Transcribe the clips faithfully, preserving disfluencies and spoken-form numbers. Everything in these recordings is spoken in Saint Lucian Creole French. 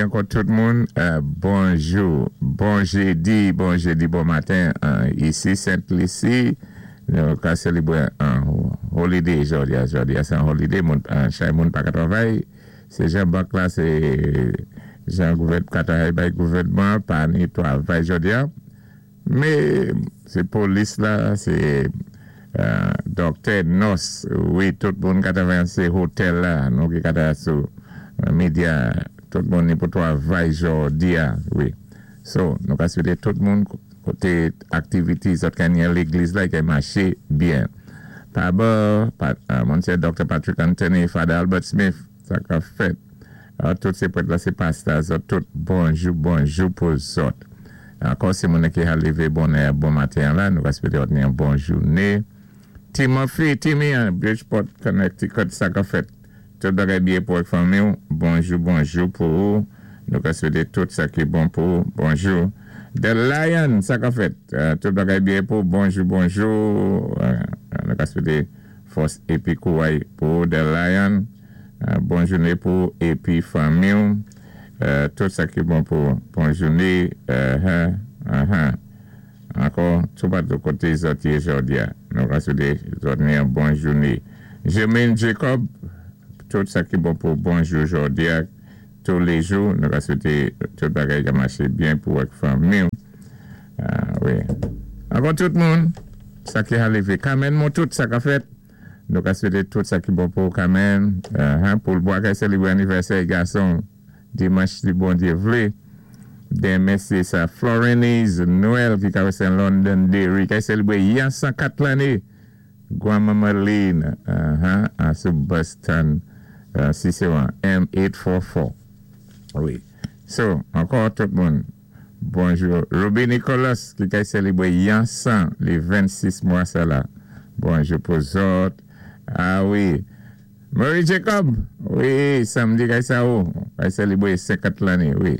Ankò tout moun, bonjou, bon jédi, bon jédi, bon maten, isi Sent Lisi, nou ka sélébwé an holiday jòdi a, jòdi a sé an holiday, chay moun pa ka twavay, sé jan bank la, sé jan gouvèd, ka twavay bay gouvèdman, pa ni twavay jòdi a, mé sé polis la, sé dòktè, nòs, wi, tout moun ka twavay sé hotel la, nou ki ka twavay sou medya, tout moun ni pou twavay jòdi a, wi. So, nou ka swété tout moun koté aktivité zòt ka ni légliz la, ki maché byen. Pa bò, Monsyè Dr. Patrick Anthony, Father Albert Smith, sa ka fèt. Tout sé prèt la, sé pastè, zòt tout bonjou, bonjou pou zòt. Ankò sé moun ki a lévé bonè, bon maten la, nou ka swété ni an bon jouné. Timothy, Timmy, Bridgeport, Connecticut, sa ka fèt. Tout bagay byen pou fanmi, bonjou, bonjou pou ou. Nou ka swété tout sa ki bon pou ou, bonjou. The Lion, sa ka fèt. Tout bagay byen pou bonjou, bonjou. Nou ka swété fòs épi kouway pou The Lion. Bon jouné pou épi fanmi. Tout sa ki bon pou bon jouné. Ankò, tout pa de koté zòt yé jòdi a. Nou ka swété zòt ni an bon jouné. Jermaine Jacob, tout sa ki bon pou bonjou jòdi a. Tous les jours, nou ka swété tout bagay ka maché byen pou ak fanmi. Wi. Ankò tout moun, sa ki a lévé. Kamen moun tout sa ka fèt. Nou ka swété tout sa ki bon pou Kamen. Pou l'bois ka sélébwé anivèsè gason dimanch si Bondyé vlé. Denmen sé sa Florenise Noël ki ka wè Londonderry ki sélébwé yan san kat lanné. Gwanmanman Lynn, uh-huh, sou Boston, Cicero, M eight four four. Wi. So, ankò tout moun, bonjou. Ruby Nicholas ki ka sélébwé yan san lé vennsis mwa sa la. Bonjou pou zòt. Ah wi. Murray Jacob, wi, samdi kay sa ou, kay sélébwé senkant lanné, wi.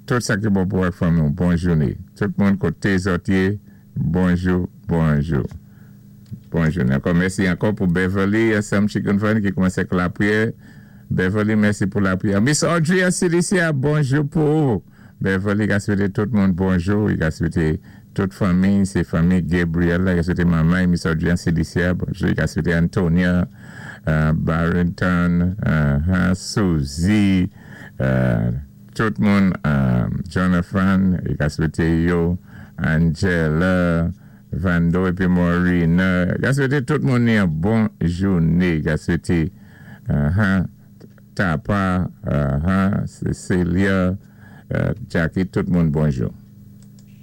Tout sa ki bon pou ak fanmi, bon jouné. Tout moun koté zòt yé, bonjou, bonjou. Bon jouné. Ankò mèsi ankò pou Beverly, Sam Chicken Fan ki koumansé ak lapwiyè. Beverly, mèsi pou lapwiyè. Miss Audrey Cilicia, bonjou pou ou. Beverly, ka swété tout moun bonjou. I ka swété tout fanmi, sé fanmi Gabriel, la, ka swété manman, Miss Audrey Cilicia, bonjou. I ka swété Antonia, uh, Barrington, uh, Suzy, uh, tout moun, uh, Jonathan, i ka swété yo, Angela, Vando épi Maureen. I ka swété tout moun ni an bon jouné. I ka swété uh, Tapa, uh, Cecilia, uh, Jackie, tout moun bonjou.